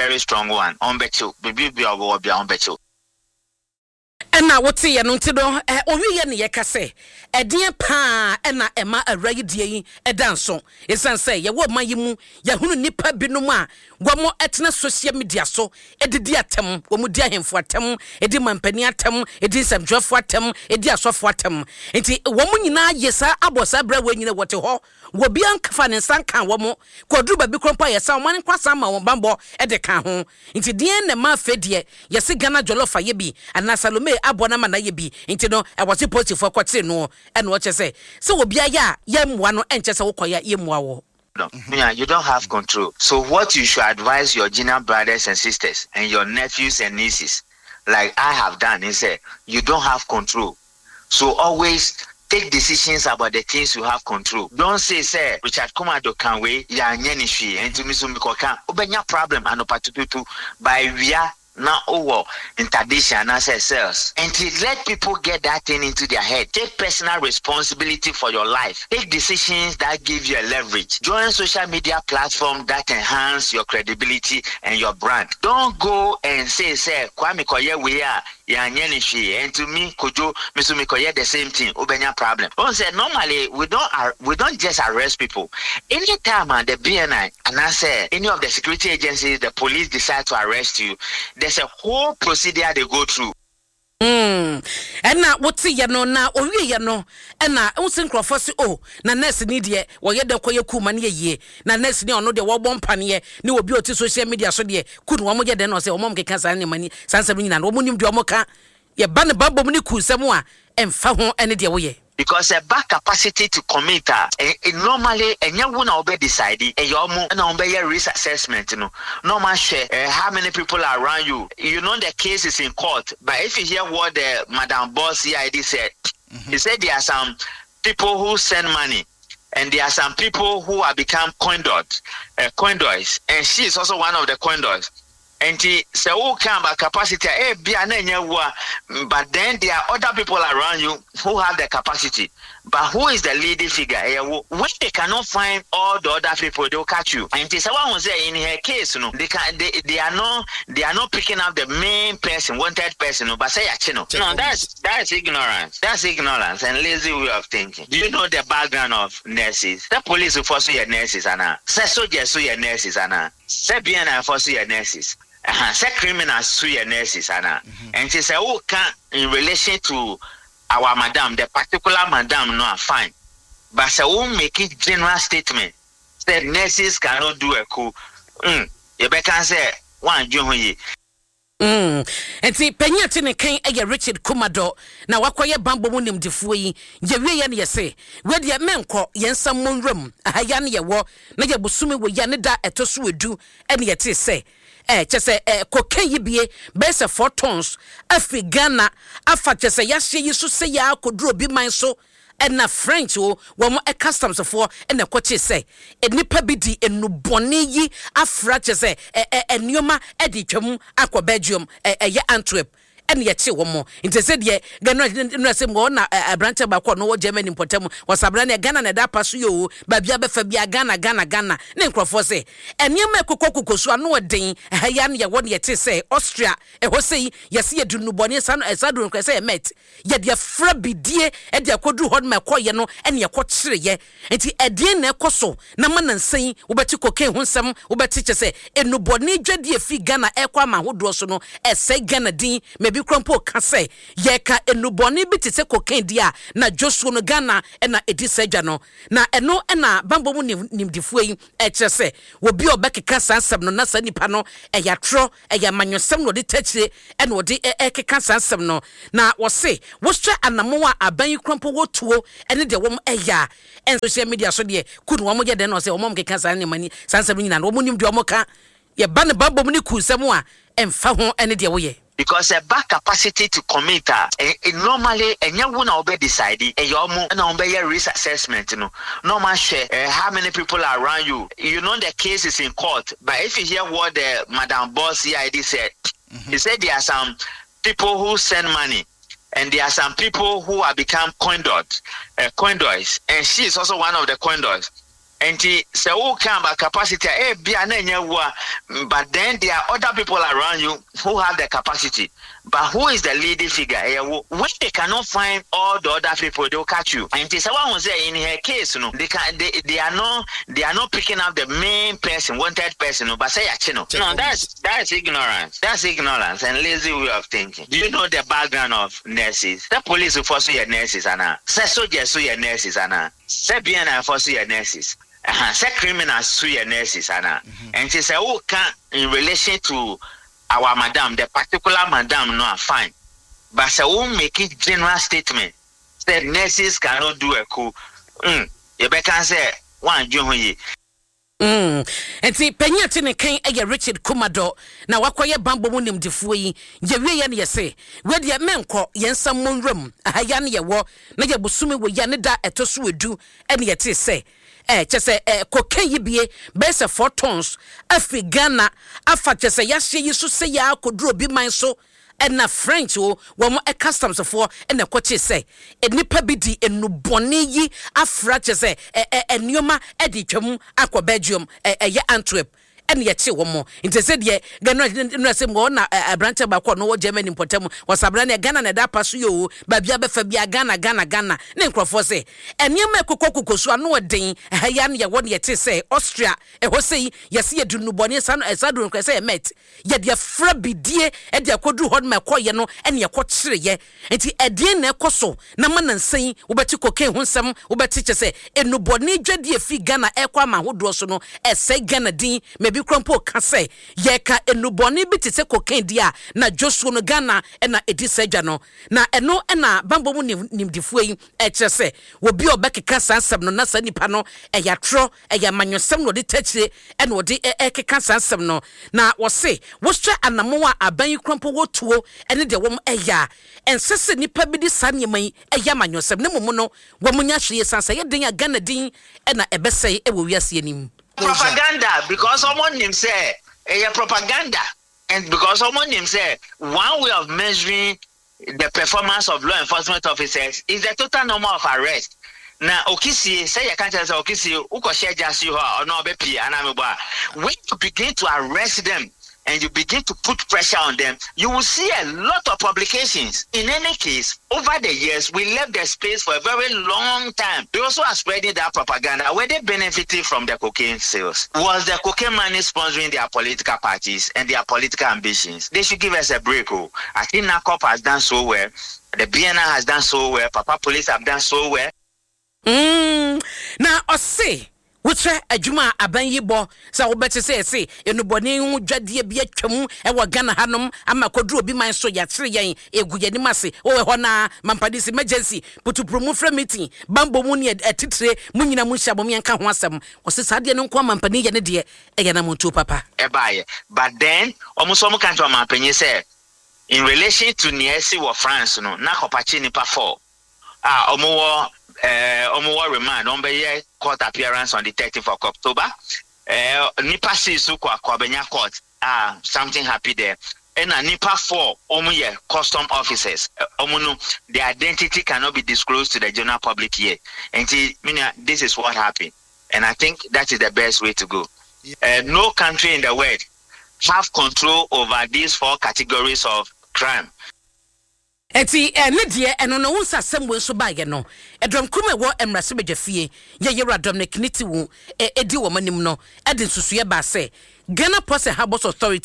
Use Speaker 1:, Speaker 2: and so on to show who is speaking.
Speaker 1: very strong one. Ɔmbɛkye wo, baabi biara a wobɛwɔ biara ɔmbɛkye wo.
Speaker 2: Ɛna woteeɛ no nti no, ɔwieɛ na yɛka sɛ, ɛdeɛn paa na ɛma awura yi deɛ yi da nso? Ɛsiane sɛ yɛwɔ ɔman yi mu, yɛahunu nnipa binom a wɔtena social media so de di atɛm, wɔdi ahemfo atɛm, di mampanin atɛm, di nsɛmtwerɛfoɔ atɛm, di asɔfoɔ atɛm. Nti wɔn nyinaa yɛ saa abɔ saa berɛ wei nyina wɔte hɔ, obiara mfa ne nsa nkaa wɔn. Kɔduru baabi koraa mpo a yɛsan wɔn nkwa san ma wɔn bammɔ de ka ho. Nti deɛn na ɛma afei deɛ yɛse Ghana jollof ayɛ bi anaa Salome aboa no ama no ayɛ bi nti no ɛwɔ se polisifoɔ kɔkyere noɔ? Ɛna ɔkyerɛ sɛ sɛ obi ayɛ a yɛmmoa no ɛnkyerɛ sɛ wokɔyɛ a yɛmmua wo.
Speaker 1: Yeah, you don't have control. So what you should advise your junior brothers and sisters and your nephews and nieces, like I have done, is say you don't have control. So always take decisions about the things you have control. Don't say sɛ Richard Kumado ka wei yɛanyɛ no hwee ɛnti me nso mekɔka. Wobɛnya problem anɔpa tututu by awia na wowɔ interdiction anaasɛ cells. Ɛnti let people get that thing into their head. Take personal responsibility for your life. Take decisions that give you a leverage. Join social media platform that enhance your credibility and your brand. Don't go and say sɛ Kwame kɔyɛ wei a Yɛanyɛ no hwee ɛnti me Kojo me nso mekɔyɛ the same thing wobɛnya problem. Wohu sɛ normally we don't we don't just arrest people anytime a the BNI anaasɛ any of the security agencies the police decide to arrest you there's a whole procedure they go through.
Speaker 2: Mm, ɛna wote yɛ no na owie yɛ no ɛna wohu sɛ nkurɔfoɔ se oh na nurse ni deɛ wɔyɛ dɛ kɔyɛ kuu ma no yɛ yie na nurse ni a ɔno deɛ wɔbɔ mpaneɛ ne obi a ɔte social media so deɛ ku no wɔn yɛ dɛn na ɔsɛ wɔn a wɔkeka saa nneɛma ni saa nsɛm no nyinaa no wɔn nim deɛ wɔn ka yɛba ne bammɔ mu ne ku nsɛm a ɛmfa ho ne deɛ woyɛ.
Speaker 1: Because ɛba capacity to commit a, normally ɛnyɛ wo na wobɛ decide, ɛyɛ wɔn na wɔn bɛyɛ risk assessment no na wɔn ahwɛ how many people are around you, you know the case is in court but if you hear what the madam boss CID said, he said there are some people who send money and there are some people who have become coindot, uh, coindoys and she is also one of the coindoys. Nti sɛ woka about capacity a ebia na ɛnyɛ wo a but then there are other people around you who have the capacity but who is the leading figure ɛyɛ wo when they cannot find all the other people they will catch you nti sɛ woahu sɛ in her case no they can they, they are not they are not picking up the main person wanted person no but sɛ yɛakye no no that's that's ignorance that's ignorance and lazy way of thinking do you know the background of nurses sɛ police foɔ so yɛ nurses anaa sɛ soldiers so yɛ nurses anaa Sɛ BNI foɔ so yɛ nurses ɛha sɛ criminals so yɛ nurses anaa ɛnti sɛ wo ka in relation to our madam the particular madam no a fine but sɛ wo make general statement sɛ nurses cannot do a coup mm yɛbɛka sɛ woandwen ho yie.
Speaker 2: Mm. Nti panyin a te ne kan yɛ Richard Kumadɔ na wakɔyɛ bammɔ mu nimdefoɔ yi. Yɛwieɛ no yɛse, wei deɛ menkɔ, yɛn nsa mmɔ nwuram. Aha yi ara ne yɛwɔ, na yɛ bosome wei a ne da a ɛtɔ so edu ne yɛtee sɛ, eh, kyɛ sɛ eh, cocaine yi bie bɛyɛ sɛ four tons afiri Ghana afa kyɛ sɛ yɛahyeɛ yi so sɛ yɛ akɔduru obi man so. Ɛna French o, wɔn customs foɔ na ɛkɔkyee sɛ nnipa bi de nnubɔne yi afra kyerɛ sɛ ɛ ɛ nneɛma de twam akɔ Belgium ɛ ɛyɛ Antwerp ɛna yɛkyee wɔn. Nti sɛ deɛ Ghana nnura sɛ mu na aberanteɛ baako ɔno wɔ Germany mpɔtam wɔsabena ne Ghana na ɛda apa so yɛ o baabi abɛfa bia Ghana Ghana Ghana ne nkurɔfoɔ sɛ nneɛma ɛkokɔ kokɔ so ano ɔden ɛha yi ano yɛwɔ ne yɛte sɛ Austria ɛhɔ sɛ yi yɛse yɛde nnubɔne saa saa duro no koraa sɛ yɛ meth Yɛde afra bidie de akɔduru hɔ no ma ɛkɔeɛ no ne ɛkɔkyereeɛ. Nti ɛdeɛn na ɛkɔ so na ma nansa yi wobɛte cocaine ho nsɛm, wobɛte kyerɛ sɛ nnubɔne dwadie a ɛfiri Ghana ɛrekɔ aman ahodoɔ so no ɛresɛe Ghana din ma ebi koraa mpo reka sɛ yɛreka nnubɔne bi te sɛ cocaine deɛ a na dwosuo no Ghana na ɛdi saa dwa no. Na ɛno na bammɔ mu nimdefoɔ yi ɛrekyerɛ sɛ obi a ɔbɛkeka saa nsɛm no na saa nipa no ɛyɛ atorɔ Ɛyɛ amanyɔsɛm na ɔde ta akyire na ɔde rekeka saa nsɛm no. Na wɔse wohwɛ anamɔn a aban yi kura mpo wɔ tuo ne deɛ wɔn yɛ a, ɛn social media so deɛ ku no wɔn yɛ dɛn na ɔsɛ wɔn a wɔkeka saa nneɛma ni saa nsɛm no nyinaa no wɔn nim deɛ wɔn ka. Yɛba ne bammɔ mu ne ku nsɛm a, ɛmfa ho ne deɛ woyɛ.
Speaker 1: Because ɛba capacity to commit a, normally ɛnyɛ wo na wobɛ decide, ɛyɛ wɔn na wɔn bɛyɛ risk assessment no na wɔn ahwɛ how many people are around you, you know the case is in court but if you hear what the madam boss CID said, he said there are some people who send money and there are some people who have become coindot, uh, coindoys and she is also one of the coindoys. Nti sɛ woka about capacity a, ebia na ɛnyɛ wo a, but then there are other people around you who have the capacity. But who is the leading figure? Ɛyɛ wo. When they cannot find all the other people, they will catch you. Nti sɛ woahu sɛ in her case no, they can they they are not they are not picking up the main person, wanted person no, but sɛ yɛakye no. No, that's ignorance. That's ignorance and lazy way of thinking. Do you know the background of nurses? Sɛ policefoɔ so yɛ nurses anaa? Sɛ soldiers so yɛ nurses anaa? Sɛ BNI foɔ so yɛ nurses? Ɛha, sɛ criminals so yɛ nurses anaa? Nti sɛ woka in relation to our madam, the particular madam no a, fine. But sɛ wo make general statement sɛ nurses cannot do a coup, mm, yɛbɛka sɛ woandwen ho yie.
Speaker 2: Nti panyin a te ne kan yɛ Richard Kumadɔ na wakɔyɛ bammɔ mu nimdefoɔ yi. Yɛwieɛ no yɛse, wei deɛ mɛnkɔ, yɛn nsa mmɔ nwura mu. Aha yi ara ne yɛwɔ na yɛ bosome wei a ne da a ɛtɔ so edu ne yɛtee sɛ eh, kyɛ sɛ eh, cocaine yi bie bɛyɛ sɛ 4 tons afiri Ghana afa kyɛ sɛ yɛahyeɛ yi so sɛ yɛ akɔduru obi man so. Ɛna French o, wɔn customs foɔ ɛna ɛkɔkyee sɛ nnipa bi di nnubɔne yi afra kyɛ sɛ ɛ ɛ nneɛma ɛde twam akɔ Belgium, ɛyɛ Antwerp ɛna yɛkye wɔn. Nti sɛ deɛ Ghana nnura sɛ mu hɔ na aberanteɛ baako a ɔno wɔ Germany mpɔtam wɔsabena ne Ghana na ɛda apa so yɛ o, baabi abɛfa bia Ghana, Ghana, Ghana ne nkurɔfoɔ sɛ nneɛma ɛkokɔ kokɔ so ano ɔden. Ɛha yi ano yɛwɔ ne yɛte sɛ Austria ɛhɔ sɛ yi yɛse yɛde nnubɔne saa no ɛsaa duro no koraa sɛ yɛ meth yɛde afra bidie de akɔduru hɔ no ma ɛkɔyɛ no ɛne ɛkɔkyereeɛ. Nti ɛdeɛn na ɛkɔ so na ma nansa yi wobɛte cocaine ho nsɛm, wobɛte kyɛ sɛ nnubɔne dwadie firi Ghana ɛrekɔ ama ahodoɔ so no ɛsɛe Ghana din, ma ebi koraa mpo ka sɛ yɛka nnubɔne bi te sɛ cocaine deɛ a na dwosuo no Ghana na ɛdi saa dwa no. Na ɛno na bammɔ mu nimdefoɔ yi ɛkyerɛ sɛ obi a ɔbɛkeka saa nsɛm no na saa nipa no ɛyɛ atorɔ, ɛyɛ amanyɔsɛm na ɔde takyire ɛna ɔde ɛkeka saa nsɛm no. Na wɔse wohwɛ anammɔn a aban yi kura mpo wɔtuo ɛne deɛ wɔn ɛyɛ a, ɛnsɛ sɛ nipa bi de saa nneɛma yi ɛyɛ amanyɔsɛm, na mmom no wɔn nya hwee san sɛ ɛyɛ den a Ghana din ɛna ɛbɛsɛe ɛwɔ wiase anim.
Speaker 1: Propaganda, because ɔmo nim sɛ ɛyɛ propaganda, and because ɔmo nim sɛ one way of measuring the performance of law enforcement officers is the total number of arrests. Na okisie sɛ yɛka kyerɛ sɛ okisie wokɔhyɛ gya si hɔ a, ɔno ɔbɛpie anaa mebɔ a, when you begin to arrest them and you begin to put pressure on them, you will see a lot of publications. In any case, over the years, we left the space for a very long time. They also are spreading that propaganda. Were they benefiting from the cocaine sales? Was the cocaine money sponsoring their political parties and their political ambitions? They should give us a break. Oh. I think NACOP has done so well. The BNI has done so well. Papa Police have done so well.
Speaker 2: Na ɔse wokyerɛ adwuma a aban yi bɔ sɛ wobɛte sɛ ɛse nnubɔne ho dwadeɛ bi atwam wɔ Ghana hanom ama kɔduru obi man so, yɛakyere yɛn ɛgu yɛn anim ase wowɔ hɔ naa mampadis emergency putupuru mu frɛ meeting bambɔ mu ne atitire mu nyina mu nhyia mom yɛnka ho asɛm. Ɔse saa deɛ no nko amampanin yɛ ne deɛ ɛyɛ namontuo papa.
Speaker 1: Ɛbaeɛ, but then wɔn nso wɔn ka kyerɛ ɔmanpanyin sɛ in relation to nea asi wɔ France no, na kɔpakye nipa four a wɔn wɔ wɔn wɔ remand, wɔn bɛyɛ court appearance on the 13th of October. Nipa six so kɔ akɔbɛnya court a something happy there. Ɛna nipa four wɔn yɛ custom officers, wɔn no their identity cannot be disclosed to the general public yet. Nti minia, this is what happened and I think that is the best way to go. No country in the world have control over these four categories of crime.
Speaker 2: Enti ɛne deɛ ɛno no wo nsa asɛm wei nso baeɛ no, ɛdɔm kurom a ɛwɔ mmarahyɛbadwa fie yɛ Yɛwura Dominic Nitiwul ɛdi wɔn anim no de nsusuiɛ baa sɛ Ghana Ports and Harbours Authority